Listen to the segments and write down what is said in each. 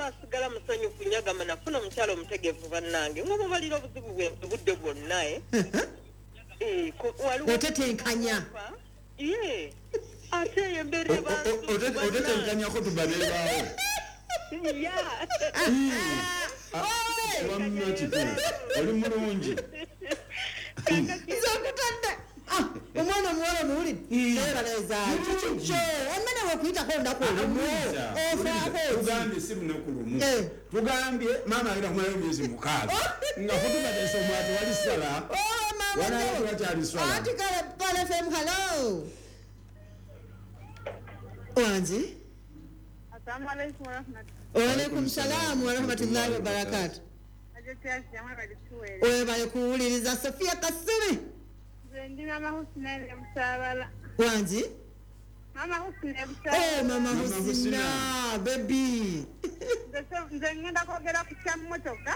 aba asigala musanyufu nnyo, agamba nafuna omukyala omutegeevu bannange, ng'omubalira obuzibu bwe obudde bwonna, eh. Eh, waliwo- Otetenkanya. Ye, ate eyo embeera eba nzibu bannange. Otetenkanyako tubanebaawo. Ya. Wamma kituufu, oli mulungi. Nze nkutadde. Ah, omwana omuwala omuwulidde nebaleza kikyo emmere wekuyitako olunaku olumu ofaako. Tugambye si lunaku lumu. Eh. Tugambye maama agenda kumalayo emyezi 6 nga kutuba tesomwa, tewali sala. Oh, Walayo tewakyali swala. Anti kale Pal FM, hello, wangi. Assalamu alaikum warahmatullahi. Waalaikum salaamu warahmatullahi wabarakatu. Webale kuwuliriza, Sofia Kasubi. Nze ndi Mama Husna e Busaabala. Wangi? Mama Husna e Oh, Busaabala. Mama Mama Husina Husina. Bebi. Nze ngenda kwogera ku kya mmotoka.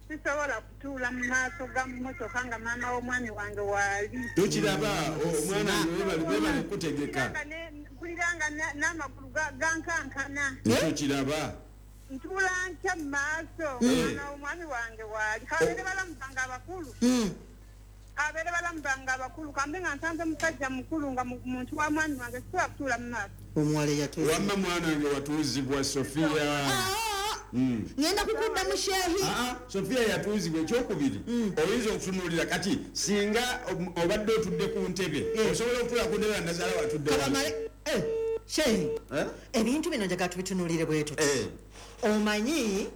Sisobola kutuula mu maaso ga mmotoka nga maama w'omwami wange waali. Tokiraba omwana wange, webale kutegeka. Mpulira nga n'amagulu gankankana. Tokiraba. Ntuula ntya mu maaso nga maama w'omwami wange waali? Kabeere balamu bange abakulu. Abeere balamu bange abakulu, kambe nga nsanze musajja mukulu nga muntu wa mwami wange, sisobola kutuula mu maaso. Omuwala eyatuuza. Wamma mwana wange watuuzibwa, Sofia. Ngenda kukudda mu sheehi. Ah, Sofia yatuuzibwa. Ekyokubiri, oyinza okutunuulira kati singa obadde otudde ku ntebe, osobola okutuula ku ntebe nga nazaala watudde wano. Kabamale, eh, sheehi. Eh? Ebintu bino njagala tubitunuulire bwe tuti. Eh. Omanyi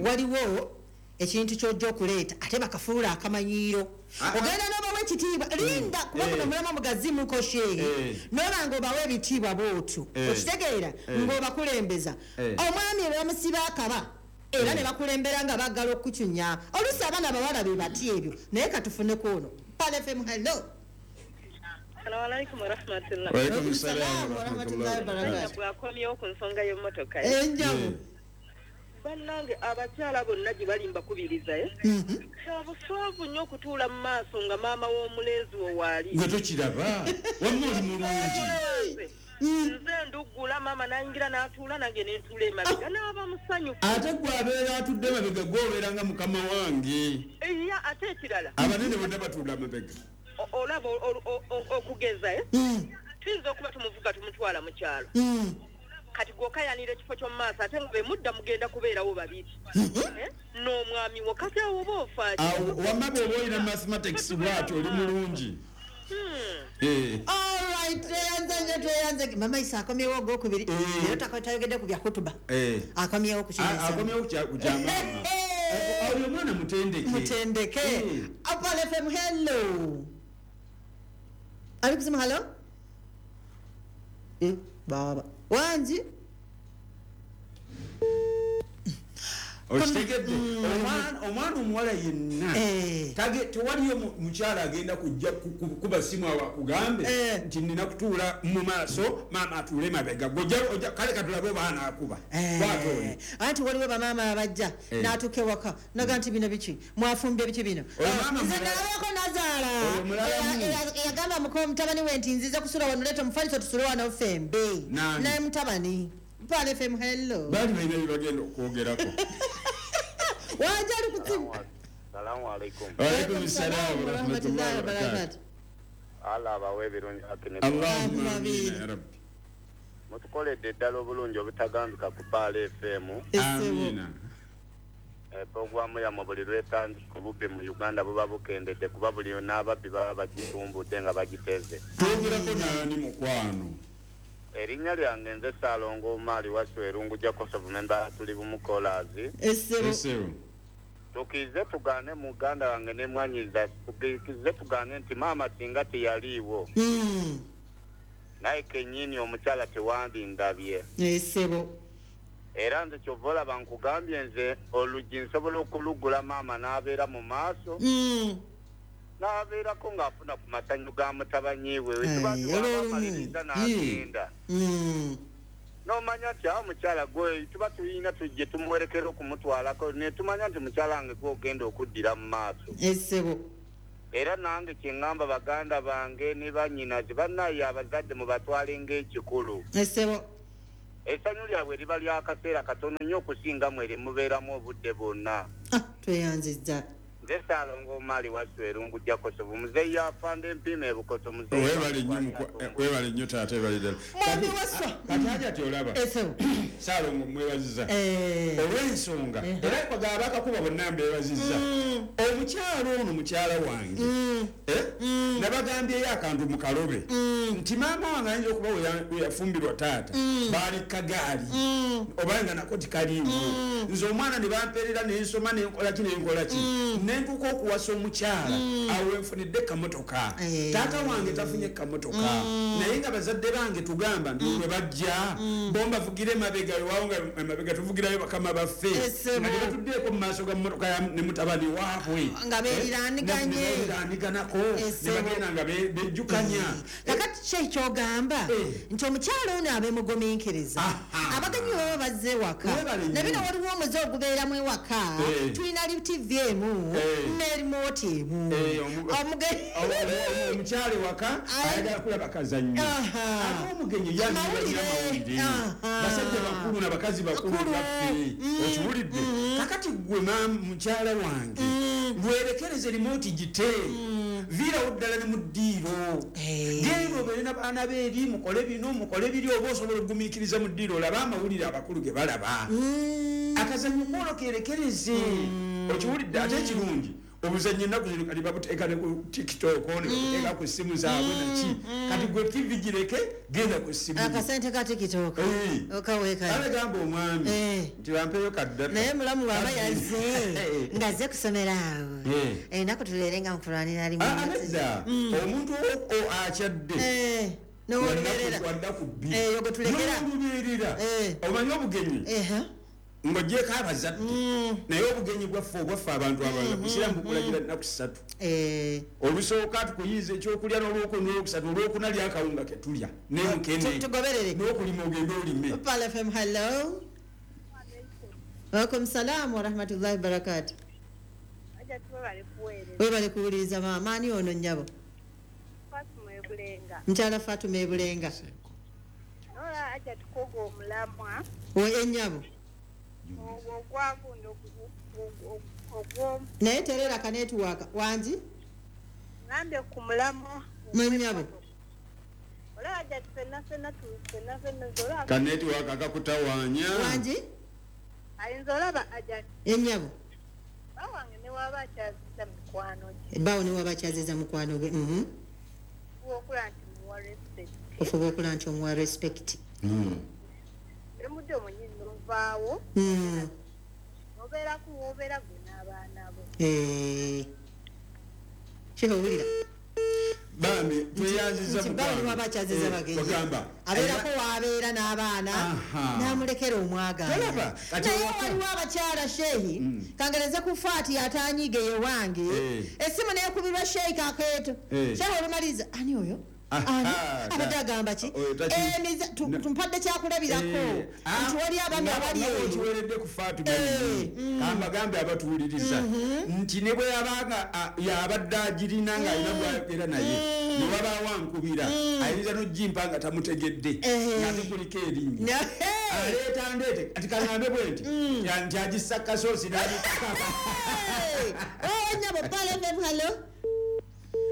waliwo ekintu kyojja okuleeta ate bakafuula akamanyiiro. Ah, ah. Ogenda n'obawa ekitiibwa, linda, kuba guno omulama mugazimuko sheehi. Eh. Noba nga obawa ebitiibwa bwotyo, Eh. okitegeera, Eh. ng'obakulembeza. Eh. Omwami bamusiba akaba era ne bakulembera nga baggala okukucunya. Oluusi abaana abawala be bati ebyo, naye katufuneko ono. Pal FM, hello. Assalamu alaikum warahmatullah. Waalaikum salaam warahmatullahi wabarakatuh. Bwakomyewo ku nsonga y'emmotoka. Enjamu. Bannange, abakyala bonna gye bali mbakubiriza, eh? Kyabuswavu nnyo okutuula mu maaso nga maama w'omulenzi wo waali. Gwe tokiraba, wamma oli mulungi. Nze nduggula, maama n'ayingira n'atuula, nange nentuula emabega, n'aba musanyufu. Ate gwe abeera atudde mabega, gwe obeera nga mukama wange. Ya, ate ekirala, Abanene bonna batuula mabega. olaba okugeza, eh? Tuyinza okuba tumuvuga tumutwala mu kyalo, kati gwokayanira ekifo ky'omu maaso, ate nga bemudda mugenda kubeerawo babiri, Eh? N'omwami wo, kati awo oba ofaaki? Awo wamma bw'oba olina mathematics bwatyo, oli mulungi. Eh. Alright, tweyanze nnyo, tweyanze. Mama Isa akomyewo ogwokubiri. Eh. Leero tayogedde ku bya hutuba. Eh. Akomyewo ku kintu. Akomyewo ku kya maama. Oyo omwana mutendeke. Mutendeke. Eh. Apal FM, hello. Ali kusema hello? Eh, baba wangi. Okitegedde? Omwana omuwala yenna, Eh. tewaliyo mukyala agenda kujja kuba simu awo akugambe Eh. nti nina kutuula mu maaso, maama atuule mabega. Gwe kale katulabe oba anaakuba. Eh. Bw'ate oli. Anti waliwo bamaama abajja Eh. n'atuuka ewaka naga nti bino biki mwafumbye, biki bino? Oyo maama Nze mulala. nalabako nazaala Oyo mulalamu. eyagamba muka mutabani we nti nziza kusula wano, leeta omufaliso tusule wano ffembe. Nani? Naye mutabani. Pal FM, hello. Baali balina bye bagenda okwogerako. Wanja, ali kutsimu. Salamu alaikum. Waalaikum salaam warahmatullahi wabarakatuh. Allah abawe ebirungi akine. Allahumma amina ya rabbi. Mutukoledde ddala obulungi obutagambika ku Baala FM. Amina. Puroguramu yammwe buli lwetandika, obubbi mu Uganda buba bukendedde, kuba buli n'ababbi baba bagitumbudde nga bagiteze. Twogerako naani, mukwano? Erinnya lyange nze Saalongo Omaali Wasu Erungu Jakosovu, memba tuli bumukolaazi. Essebo. Esebo. Tukize tugaane, muganda wange ne mwanyiza, tukize tugaane nti maama singa teyaliiwo, naye kennyini omukyala tewandindabye. Essebo. Era nze kyova olaba nkugambye, nze oluggi nsobola okulugula, maama n'abeera mu maaso, n'abeerako ng'afuna ku masanyu ga mutabanyi we. Eh, Tuba olwo olumu. tubamaliriza n'agenda, n'omanya nti awo mukyala gwe tuba tulina tujje tumuwerekera okumutwalako, ne tumanya nti mukyala wange gwogenda okuddira mu maaso. Essebo. Era nange kyeŋŋamba baganda bange ne bannyinaze, bannaye abazadde mubatwale ng'ekikulu. Essebo. Essanyu lyabwe liba lyakaseera katono nnyo okusinga mwe mubeeramu obudde bwonna. Tweyanzizza. Nze Ssaalongo Omali Wasswa Erungu Jakosobu, muzeeyi afanda empiima ebukoto, muzeeyi webale nnyo taata, webale ddala. Mwami Wasswa. Kati Hajati olaba Ssaalongo mwebaziza olw'ensonga era kwagala bakakuba bonna mbeebazizza. Omukyalo ono mukyala wange nabagambyeyo akantu mu kalobe nti maama wange ayinza okuba we yafumbirwa taata baali kagaali oba nga nako tikaliiwo, nze omwana ne bampeerera nensoma nenkola ki nenkola ki nentuuka okuwasa omukyala awo wenfunidde kamotoka. Taata wange tafunye kamotoka, naye nga bazadde bange tugamba nti lwe bajja bo mbavugire emabega, weewaawo nga emabega tuvugirayo bakama baffe nga tebatuddeeko mu maaso ga mmotoka ne mutabani waabwe nga beeriraaniganye ne bagenda nga bejjukanya. Kakati ki ekyogamba nti omukyala ono abeemugumiikiriza, abagenyi baba bazze ewaka, ne bino waliwo omuze ogubeeramu ewaka, tulina TV emu ne remote emu. Omukyala ewaka ayagala kulaba kazannyo, ate omugenyi yamawulire, basajja bakulu n'abakazi bakulu baffe, okiwulidde? Kakati ggwe mukyala wange lwerekereze remote gite, viirawo ddala ne mu ddiiro, genda obeere n'abaana beeri, mukole bino mukole biri, oba osobola okugumiikiriza mu ddiiro olabe amawulire abakulu ge balaba. Akazannyo kwolwo kerekereze, okiwulidde? Ate ekirungi obuzannyo ennaku zino kati babuteeka ne ku TikTok, ne babuteeka ku ssimu zaabwe naki. Kati gwe TV gireke, genda ku ssimu. Akasente ka TikTok okaweekayo. Ale gamba omwami nti bampeeyo kaddata. Naye mulamu bw'aba yazze ng'azze kusomera awo, ennaku tubeere nga mukulwanira limu. Nedda, omuntu akyadde wadda ku bbiri n'olubeerera, omanyi obugenyi ng'ogyeko abazadde, naye obugenyi bwaffe obwaffe abantu abalala busiraamu bukulagira nnaku ssatu. Olusooka tukuyiiza ekyokulya, n'olwokuna n'olwokusatu, olwokuna lyakawunga ke tulya n'emukene n'okulima ogende olime. Pal FM, hello. Waalaikum salaam wa rahmatullahi wa barakatuh. Webale kuwuliriza maama. Ani ono nnyabo? Mukyala Fatuma Ebulenga. Ennyabo naye terera kanetiwaka wangi ngambe ku mulamwa mwennyabo kanetiwaka kakutawaanya wangi ayinza olaba Hajati ennyabo bawange ne waba akyaziza mukwano gye, bawo ne waba akyaziza mukwano gwe, ofuba okula nti omuwa respect, nemudde omunyini novaawo nobeeraku wobeera gwe n'abaana bo. Kihowulira bambi tweyanziza mukwano waba akyaziza bagenyi, abeerako wabeera n'abaana n'amulekera omwagala. Naye waliwo abakyala sheehi kangereze ku Faati atanyiige ye wange, essimu neekubirwa sheehi kakeeto, sheehi olumaliriza ani oyo abadde agamba ki tumpadde kyakulabirako nti wali abaami abali eyo. Okiweredde ku Faatu kambagambe abatuwuliriza nti ne bwe yabanga yabadde agirina ng'alina gwayogera naye ne wabaawo ankubira ayinza n'ogimpa nga tamutegedde ng'ate kuliko erinnya aleeta ndeete kati kaŋŋambe bwe nti nti agissa kasoosi n'agikaka. Nnyabo Pal FM, hello.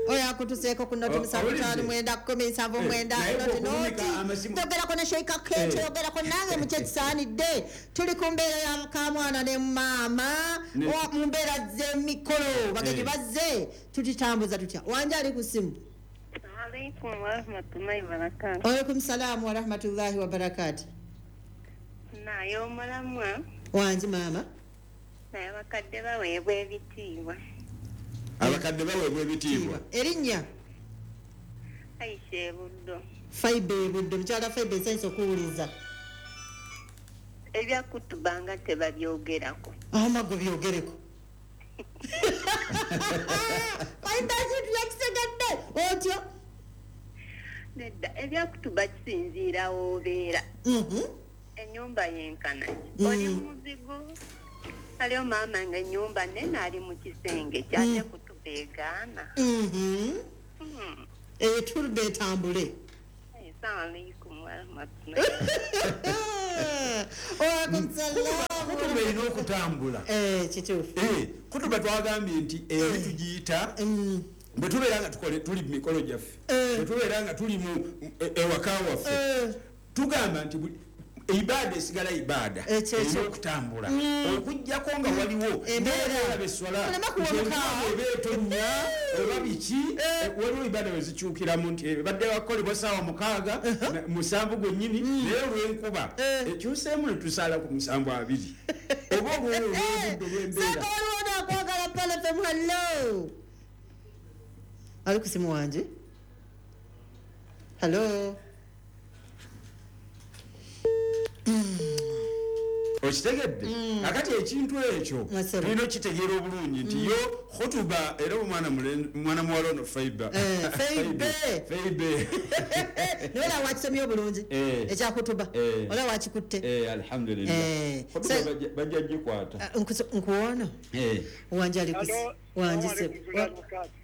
Oyo akutuseeko ku noti 7 5 9 10 7 9 noti. Togerako ne Sheikh Kakeeto, yogerako nange mu kyekisaanidde. Tuli ku mbeera ya mukamwana ne maama mu mbeera z'emikolo, bagenyi bazze, tukitambuza tutya? Wanje ali ku ssimu. Alaikum warahmatullahi wabarakatuh. Waalaikum salaam warahmatullahi wabarakatuh. Naye omulamwa wangi maama, naye abakadde baweebwa ebitiibwa. Abakadde baweebwa ebitiibwa. Erinnya Aisha Ebuddo. Faibe Ebuddo, mukyala Faibe nsanyu okuwuliza. Ebyakutubanga tebabyogerako. Amago byogereko. Faibe ekintu yakisegadde otyo. Nedda, ebyakutuba kisinziira w'obeera. Ennyumba yenkana. Oli muzigo. Aliyo maama nga ennyumba nnene ali mu kisenge kyate kutuba egaana. Eturuba etambule. Assalamu alaikum warahmatullahi. Kutuba erina okutambula. Kituufu. Kutuba twagambye nti eri tugiyita bwe tubeera nga tuli mu mikolo gyaffe, bwe tubeera nga tuli mu ewaka waffe, tugamba nti ibaada esigala ibaada erina okutambula okuggyako nga waliwo embeera eswala eba etonnya oba biki, waliwo ibaada we zikyukiramu nti ebadde wakolebwa ssaawa 6 7 gwennyini, naye olw'enkuba ekyuseemu ne tusaala ku 72 oba olw'obudde olw'embeera. Waliwo nakwagala Pearl FM. Hello, ali ku simu wanje. Hello. Okitegedde? Akati ekintu ekyo tulina okitegeera obulungi nti yo khutuba era omwana muwala ono Faibe Faibe naye wakisomye obulungi ekya khutuba ola wakikutte. Alhamdulillah. Khutuba bajja gikwata nkuwona wanje ali wanje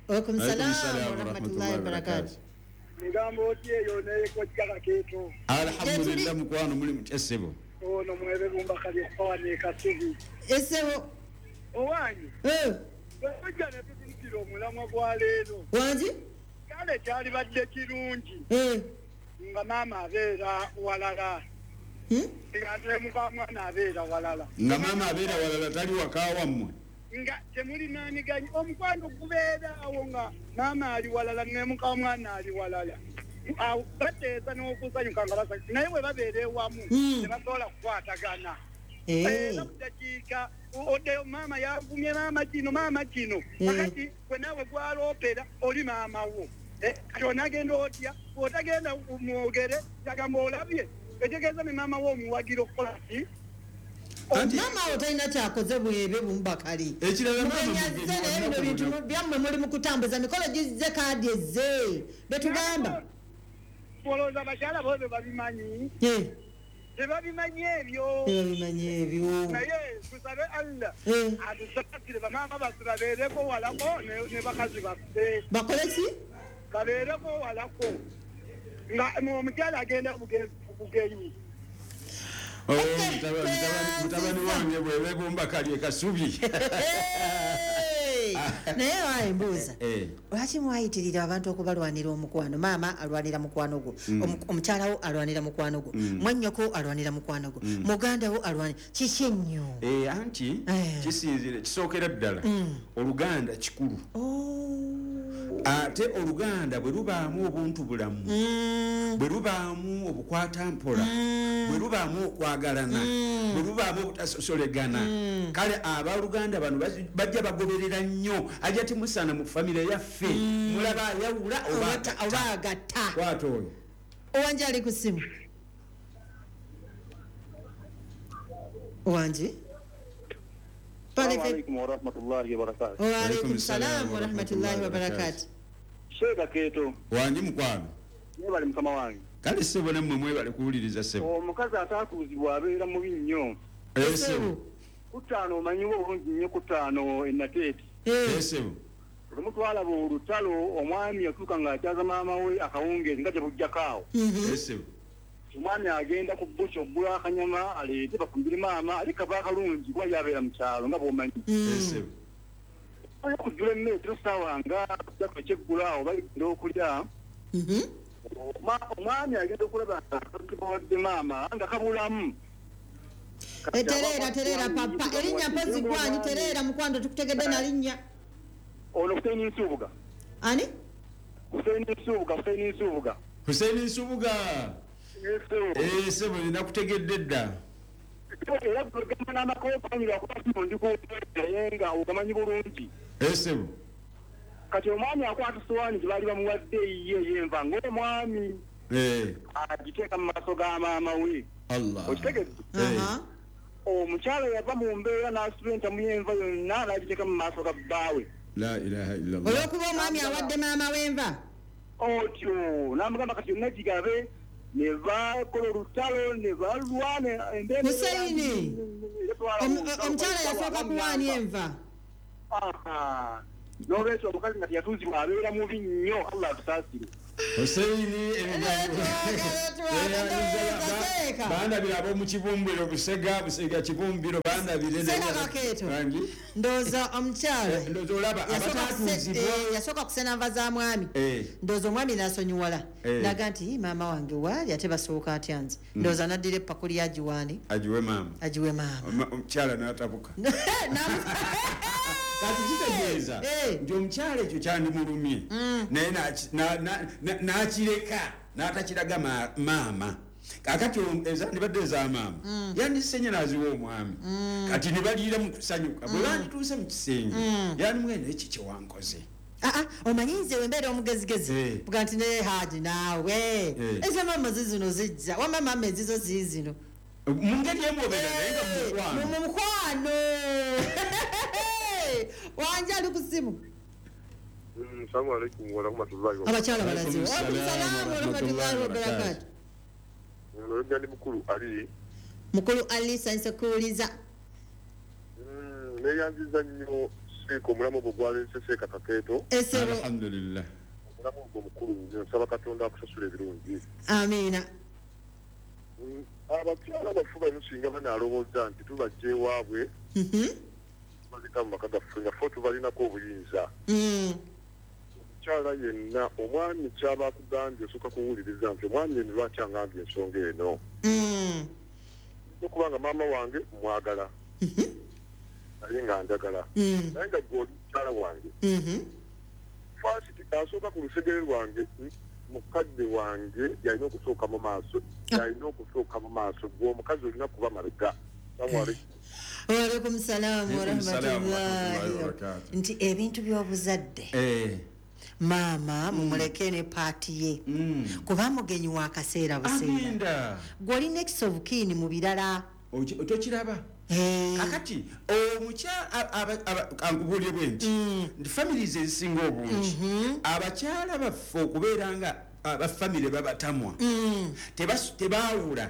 Waalaikum salaam wa rahmatullahi wa barakatuh. Migambo oti eyo neyekojjaka keeto. Alhamdulillah mukwano muli mutya ssebo? Ono mwebe bumba kali okufawana ekasubi. Essebo. Owange. Bwejja ne tutuukira omulamwa gwa leero. Wangi? Kale kyalibadde kirungi. Nga maama abeera walala. Nga ate mukamwana abeera walala. Nga maama abeera walala tali waka wammwe. Nga temulinaniganye omukwano gubeera awo nga maama ali walala ne mukamwana ali walala. Awo bateesa n'okusanyuka nga basanyuka naye bwe babeera ewamu tebasobola kukwatagana. Era dakiika oddeyo maama yavumye maama kino kakati gwe naawe gwaloopera oli maama wo. Kati onagenda otya otagenda mwogere yagamba olabye etegeeza ne maama wo omuwagira okukola ki? Mama otalina kyakoze bwebe bumbakali. Ekirala mama bino bintu byammwe muli mu kutambuza mikolo gizze kaadi ezze betugamba. Olowooza abakyala bo babimanyi? Tebabimanyi ebyo. Tebabimanyi ebyo. Naye tusabe Allah atusaasire bamaama baffe babeereko walako ne bakazi baffe. Bakole ki? Babeereko walako nga omukyala agenda bugenyi. Mutabani wange bwebe bumbakali ekasubi. Naye waye mbuuza lwaki mwayitirira abantu okubalwanira omukwano? Maama alwanira mukwano gwo, omukyala wo alwanira mukwano gwo, mwannyoko alwanira mukwano gwo, muganda wo alwanira kiki ennyo? Anti kisinzire kisookera ddala oluganda kikulu. Ate oluganda bwe lubaamu obuntu bulamu, bwe lubaamu obukwata mpola, bwe lubaamu okwagalana, bwe lubaamu obutasosolegana, kale abaluganda bano bajja bagoberera nnyo. Ajja timusana mu famire yaffe mulaba ayawula oba agatta. Kwata oyo owanje ali ku ssimu. Owanje. Assalamu warahmatullahi wabarakatuh. Wa alaikum salam warahmatullahi wabarakatuh. Sheikh Keto. Wangi mukwano. Mwebale mukama wange. Kale ssebo nammwe mwebale kuwuliriza ssebo. Omukazi ataatuuzibwa abeera mubi nnyo. Ssebo. Kutaano omanyiwo obulungi nnyo kutaano ennateeti. Ssebo. Lumu twalaba olutalo omwami yatuuka ng'akyaza maama we akawungeezi nga gye bujjako awo. Ssebo. Omwami agenda ku bbuki okugula akanyama aleete bafumbire maama ali kava akalungi kuba yabeera mu kyalo nga bw'omanyi. Ssebo. Okujjula emmere tero ssaawa nga kujjako ekyeggula awo baligenda okulya. Omwami agenda okulaba nga maama nga kabulamu. Tereera papa erinnya mpozi gwani tereera mukwano tukutegedde na linnya. Ono Hussein Nsubuga. Ani? Hussein Nsubuga, Hussein Nsubuga. Hussein Nsubuga. Ssebo nakutegedde dda. Era gamba n'amakoopanyira kuba ndi ku naye nga ogamanyi bulungi. Ssebo. Kati omwami akwata sowaani gye baali bamuwadde eyiye ey'enva ng'omwami. Agiteeka mu maaso ga maama we. Allah. Okitegedde? Omukyala yava mu mbeera n'asitula entamu y'enva yonna n'agiteeka mu maaso ga bbaawe. La ilaha illallah. Olw'okuba omwami awadde maama w'enva? Otyo n'amugamba kati yonna gigabe ne bakola olutalo ne balwana embeera. Hussein, omukyala yasooka kuwaani enva? N'olwekyo omukazi nga teyatuuzibwa abeera mubi nnyo. Allah atusaasire. Husseini bandabira ab'omu Kibumbiro, Busega, Busega Kibumbiro bandabire. Seeka Kakeeto. Ndowooza omukyala Ndowooza olaba abatatuuzibwa. Yasooka kusena nva za mwami. Ndowooza omwami n'asonyiwala, naga nti, "Ii, maama wange waali ate basooka atya nze?" Ndowooza n'addira epakuli agiwaani? Agiwe maama. Agiwe maama. Omukyala n'atabuka. Kati kitegeeza nti omukyala ekyo kyandimulumye, naye n'akireka n'atakiraga maama. Kakati ezandibadde eza maama yandisenye n'aziwa omwami, kati ne baliira mu kusanyuka. Bwe bandituuse mu kisenge, yandimugenda, "Eki kyewankoze?" Ah, omanyi nze wembeera omugezigezi buga nti, "Naye Haji, naawe eza maama zizino zijja, wamma maama ezizo ziizino." Mu ngeri emu obeera naye nga mu mukwano. Mu mukwano wanje ali ku simu. Assalamu alaikum warahmatullahi. Abakyala balaze. Alaikum salaam Waalaikum warahmatullahi wabarakatuh. Oluganda ndi mukulu Ali. Mukulu Ali, sayinza kuwuliza. Neyanziza nnyo Seeka omulamu ogwo gwaleese, Seeka Kakeeto. Esebo. Alhamdulillah. Omulamu ogwo mukulu nnyo, nsaba Katonda akusasula ebirungi. Amiina. Abakyala baffe bano singa banaalowooza nti tubajja ewaabwe, tubaleka mu maka gaffe nga ffe tubalinako obuyinza. Omukyala yenna, omwami kyaba akugambye osooka kuwuliriza nti omwami eno lwaki angambye ensonga eno, okubanga maama wange mwagala naye nga njagala, naye nga gwe oli mukyala wange first asooka ku lusegere lwange, mukadde wange yalina okusooka mu maaso, yalina okusooka mu maaso. Gwe omukazi olina kuba mabega. Assalamu alaikum. Waalaikum salaamu Alaikum salaam warahmatullahi warahmatullahi wabarakatuh. Nti ebintu by'obuzadde, maama mumuleke ne part ye, kuba mugenyi wa kaseera buseera. Agenda. Gwe oli next of kin mu birala. Tokiraba? Kakati kankubuulire bwe nti, nti families ezisinga obungi, abakyala baffe okubeera nga abafamire babatamwa, tebaawula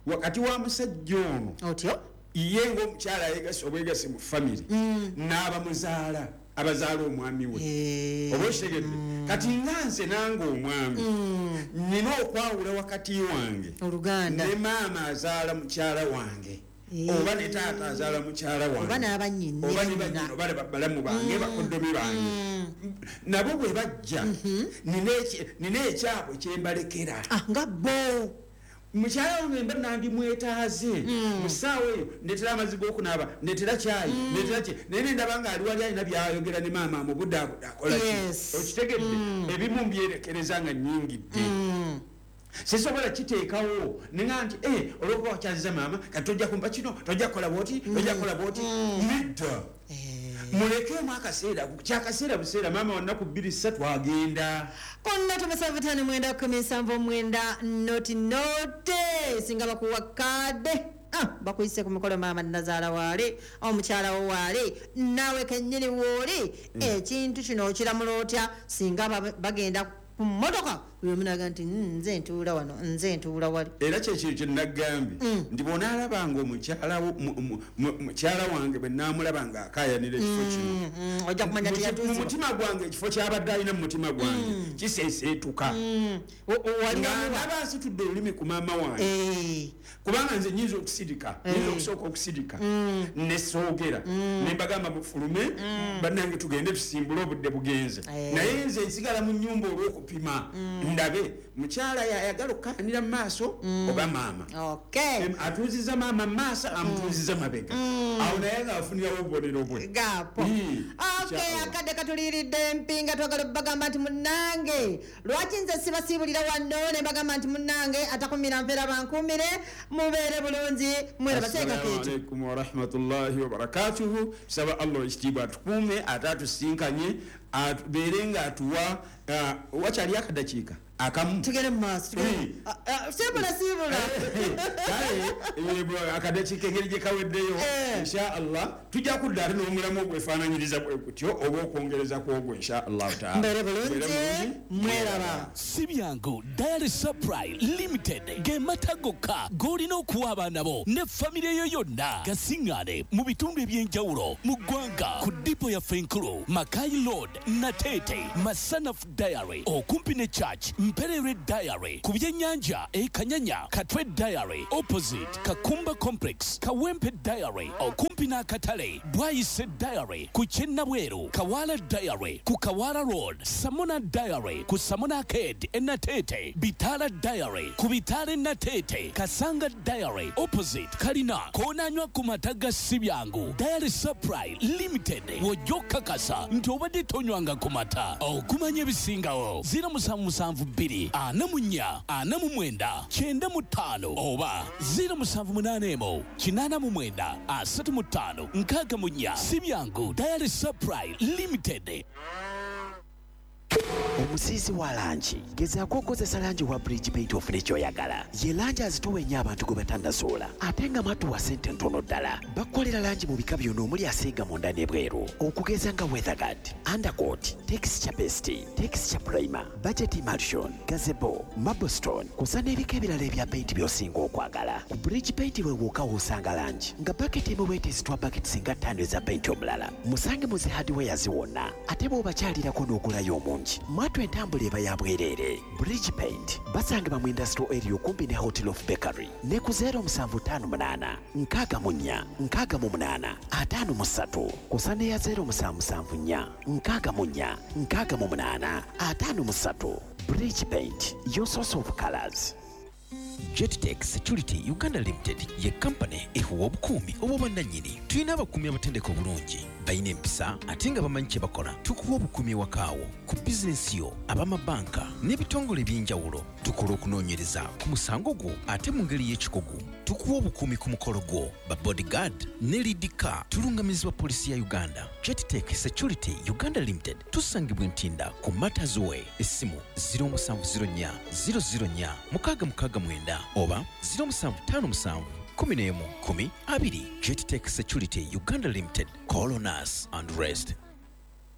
wakati wa musajja ono otyo ye ngaomukyala ayegasi obwegasi mu famire n'abamuzaala, abazaala omwami we. Oba okitegedde? Kati nga nze nange omwami nina okwawula wakati wange oluganda ne maama azaala mukyala wange, oba ne taata azaala mukyala oba wange, n'abannyini, oba ne bannyina, oba ne balamu bange, bakoddomi bange, nabo bwe bajja nina ekyabwe kyembalekera. Ah, nga bo Mukyala wange mba nandimwetaaze mu ssaawa eyo, ndetera amazzi g'okunaaba, ndetera kyayi, ndetera ki, naye nendaba nga ali wali alina byayogera ne maama amubudaabuda, akola ki. Okitegedde? Ebimu mbyerekereza nga nnyingidde, sisobola kiteekawo nenga nti, "Eh, olwokuba wakyaziza maama, kati tojja kumpa kino, tojja kukola bwoti, tojja kukola bwoti." Nedda, mulekeemu akaseera, kyakaseera buseera. Maama wa nnaku 2 3 agenda. Konna 75 9 79 00. Singa bakuwa kaade, bakuyise ku mikolo, maama nazaala waale, omukyala wo waale, naawe kennyini wooli, ekintu kino okiramula otya singa bagenda ku mmotoka, buli omu naga nti, "Nze ntuula wano, nze ntuula wali"? Era kyekyo kyenagambye nti bwonaalaba nga omukyala mukyala wange bwe naamulaba nga akaayanira ekifo kino, Ojja kumanya mu teyatuuzibwa. mutima gwange, ekifo kyabadde alina mu mutima gwange kiseeseetuka Wali nga wamuwa. ndaba nsitudde olulimi ku maama wange, kubanga nze nyinza okusirika, nyinza okusooka okusirika nesoogera nembagamba, "Mufulume bannange, tugende tusimbule, obudde bugenze." Naye nze nsigala mu nyumba olw'okupima ndabe mukyala yayagala okukaanira mu maaso oba maama. Atuuziza maama mu maaso, amutuuziza mabega, awo naye nga afunirawo obubonero bwe. Gapo. Okay. Inshallah. Akadde katuliiridde empinga. Twagala bagamba nti munnange, lwaki nze sibasiibulira wano ne bagamba nti munnange atakumira mpeera bankuumire, mubeere bulungi, mweraba. Assalamu Seeka Keeto. alaikum warahmatullahi wabarakatuhu. Tusaba Allah ekitiibwa atukuume ate atusinkanye, atubeere nga atuwa wakyali akadakiika akamu. Tugende mu maaso, tugende. Ah, ah, siibula, siibula. Kale akadakiika engeri gye kaweddeyo, insha Allah tujja kudda ate n'omulamu ogwefaananyiriza bwe gutyo oba okwongereza ku ogwo, insha Allahu taala. Mbeere bulungi, mweraba. Si byangu. Dairy Supply Limited ge mata gokka g'olina okuwa abaana bo ne famire yo yonna. Gasiŋŋaane mu bitundu eby'enjawulo mu ggwanga ku depot yaffe enkulu, Makai Road, Nateete, Masanafu Dairy, okumpi ne church. Mpererwe Dairy ku byennyanja e Kanyanya, Katwe Dairy opposite Kakumba Complex, Kawempe Dairy okumpi n'akatale, Bwayise Dairy ku Kyennabweru, Kawaala Dairy ku Kawaala Road, Samona Dairy ku Samona Arcade e Nateete, Bitaala Dairy ku Bitaala e Nateete, Kasanga Dairy opposite Kalina. Koonanywa ku mata ga Sibyangu Dairy Supply Limited w'ojja okukakasa nti obadde tonywanga ku mata. Okumanya ebisingawo 0772 44 49 95 oba 0781 89 35 64. Sibyangu Dairy Supply Limited. Omusiizi wa langi, gezaako okukozesa langi wa Bridge Paint ofune ky'oyagala. Ye langi azitowa ennyo abantu gwe batannasoola, ate nga mwattu wa ssente ntono ddala. Bakukolera langi mu bika byonna omuli asiiga munda n'ebweru, okugeza nga Weatherguard, Undercoat, Texture Paste, Texture Primer, Budget Emulsion, Gazebo, Marblestone, kw'ossa n'ebika ebirala ebya paint by'osinga okwagala. Ku Bridge Paint we wokka w'osanga langi nga baketi emu bw'eti ezitwa baketi singa ttaano eza paint omulala. Musange mu zi hardwares wonna, ate bw'obakyalirako n'ogulayo omungi, mwattu entambula eba ya bwereere. Bridge Paint basangibwa mu industrial area okumpi ne Hotel of Bakery ne ku 0758 64 68 53 kw'ossa n'eya 0774 64 68 53. Bridge Paint, your source of colors. Jettech Security Uganda Limited ye kampani ehuwa obukuumi obw'obwannannyini. Tulina abakuumi abatendeka obulungi, balina empisa ate nga bamanyi kye bakola. Tukuwa obukuumi ewakaawo, ku bizinensi yo, ab'amabanka n'ebitongole eby'enjawulo. Tukola okunoonyereza ku musango gwo ate mu ngeri y'ekikugu. Tukuwa obukuumi ku mukolo gwo, ba bodyguard ne lead car. Tulungamizibwa poliisi ya Uganda. Jettech Security Uganda Limited tusangibwa Ntinda ku Matters Way. Essimu 0704 004 669 oba 0757 11 10 20. Jettech Security Uganda Limited. Call on us and rest.